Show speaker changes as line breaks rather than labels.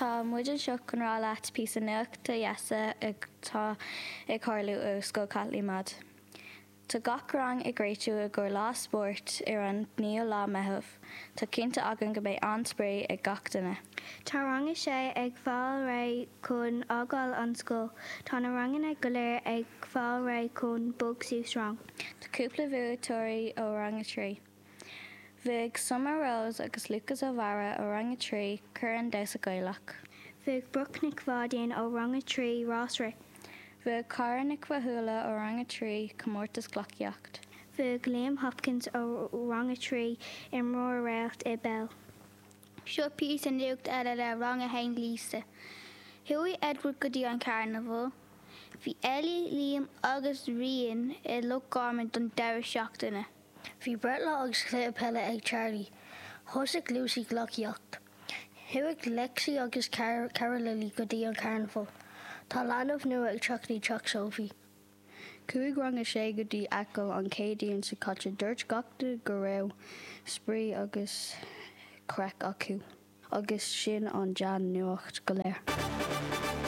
Tá muid anseo chun rá leat píosa nuachta dheasa atá ag tharlú ó Scoil Chaitlín Maude. Tá gach rang ag réitiú i gcomhair lá spóirt ar an 9ú lá Meitheamh. Tá cinnte againn go mbeidh an-spraoi ag gach duine.
Tá rang a sé ag fáil réidh chun fhágáil an scoil. Tá na ranganna go léir ag fáil réidh chun bog suas rang.
Tá cúpla bhuaiteoirí ó rang a 3. Bhuaigh Summer Rose agus Lucas Ó Mheara ó rang a 3 Corn Damhsa Gaelach.
Bhuaigh Brooke Nic Pháidín ó rang a 3 Rás Rith.
Bhuaigh Cara Nic Mhathúla ó rang a 3 Comórtas Gleacaíocht.
Bhuaigh Liam Hopkins ó rang a 3 Imreoir Réalt i bpeil.
Seo píosa nuacht eile le Rang 1 Lisa. Chuaigh Edward go dtí an carnabhal. Bhí Ellie, Liam agus Rian i Loch Garman don deireadh seachtaine.
Bhí breithlá agus cluiche peile ag Charlie. Thosaigh Lucy gleacaíocht. Chuaigh Lexi agus cara Lily go dtí an carnabhal. Tá leanbh nua ag teacht i dteach Sophie.
Chuaigh rang a sé go dtí Acaill an Chéadaoin seo caite. Dúirt gach duine go raibh spraoi agus craic acu. Agus sin an dea-nuacht go léir.